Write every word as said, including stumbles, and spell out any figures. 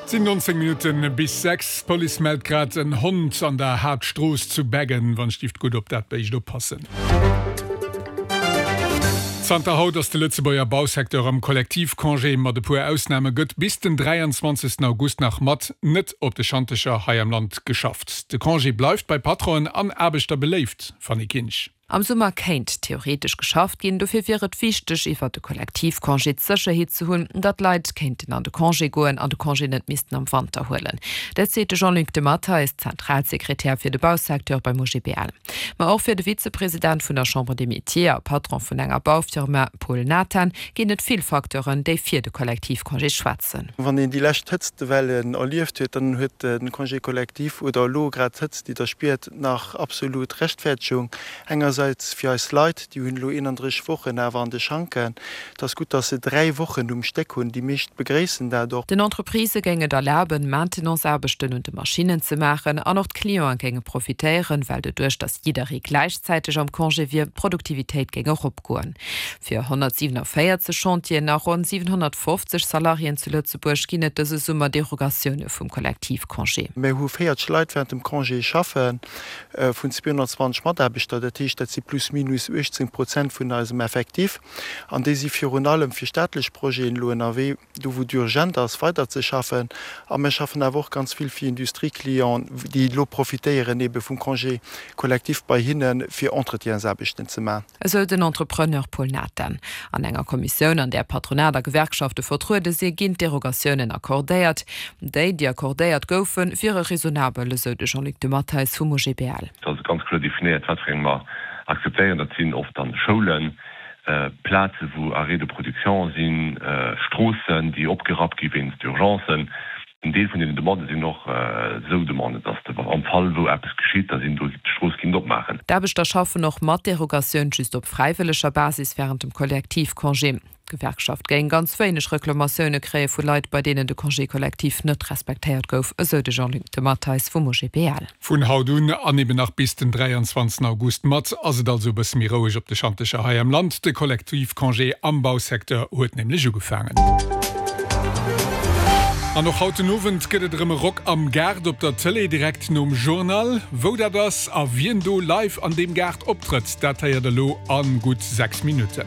Et sinn nonzéng Minutte bis sechs. D'Police mellt grad en Hond an der Haaptstrooss zu Beggen. Wann stift gutt op dat Béischt oppassen. Zanter haut ass de Lëtzebuerger Bausecteur am Kollektivcongé. Mat e puer Ausname gëtt bis den dräianzwanzegsten August nach mat net op de Schantercher hei am Land geschafft. De Congé bleift bei Patronen an Aarbechter beléift, Fanny Kinsch. Am Summer kéint theoretesch geschafft ginn, dofir wier et wichteg, iwwer de Kollektivcongé d'Sécherheet ze hunn, datt Leit kéinten an de Congé goen an de Congé net missten am Wanter huelen. Dat seet de Jean-Luc de Matteis, Zentralsekretär fir de Bausecteur beim O G B L. Ma och fir de Vizepresident vun der Chambre des Métiers a Patron vun enger Baufirma, Paul Nathan, ginn et vill Facteuren, déi fir de Kollektivcongé schwätzen. Wann een déi lescht Hëtztwellen erlieft huet, dann huet de Congé collectif oder elo grad d'Hëtzt, déi Der spiert, nach absolut Rechtfäertegung. Engersäits fir eis Leit, déi hunn elo eenandrësseg Wochen awer an de Schanken. Et ass gutt, dass se dräi Wochen um Stéck hunn. Déi meescht begréissen dat och. Den Entreprisë géing et erlaben, Maintenance-Aarbechten un de Maschinnen ze maachen an och d'Clienten géinge profitéieren, well doduerch, dass jidderee gläichzäiteg am Congé wier, d'Produktivitéit géing eropgoen. Fir honnertsiewenavéierzeg Chantieren a ronn siwenhonnertfofzeg Salariéen zu Lëtzebuerg ginn et dëse Summer Derogatioune vum Kollektivcongé. Mir hu véierzeg Leit während dem Congé schaffen, vun zweehonnertzwanzeg Mataarbechter, dat heescht, dat si plus minus uechtzéng Prozent vun eisem Effectif. An déi si virun allem fir staatlech Projeten elo ënnerwee, do wou et urgent ass weiderzeschaffen. A mir schaffen awer och ganz vill fir Industrieclienten, déi elo profitéieren ebe vum Congé collectif bei hinne fir Entretiensaarbechten ze maachen. Esou den Entrepreneur Paul Nathan. An enger Kommissioun, an där Patronat a Gewerkschafte vertruede si, ginn d'Derogatiounen accordéiert. Déi, déi accordéiert goufen, wiere raisonnabel, esou de Jean-Luc de Matteis vum O G B L. Et ass ganz kloer definéiert, wat fir eng mer akzeptéieren. Dat sinn oft dann Schoulen, Plaze wou Arrêt de production sinn, Stroossen, déi opgerappt gi wéinst Urgencen. En Deel vun deenen Demandë sinn och esou Demanden, datt de am Fall wou eppes geschitt, datt een do d'Strooss kinnt opmaachen. D'Aarbechter schaffen och mat Derogatioun just op fräiwëlleger Basis wärend dem Kollektivcongé. D'Gewerkschaft géing ganz wéineg Reklamatioune kréie vu Leit, bei deenen de Congé collectif net respektéiert gouf, esou de Jean-Luc de Matteis vum O G B L. Vun haut un an eben nach bis den dräianzwanzegsten August mat ass et also e bësse méi roueg op de Schantercher hei am Land. De Kollektivcongé am Bausecteur huet nämlech ugefaangen. An och haut den Owend gëtt et erëm e Rock am Gaart op der Tëlee direkt nom Journal. Wou dat ass a wien do live an deem Gaart optrëtt, dat héiert der elo a gutt sechs Minutten.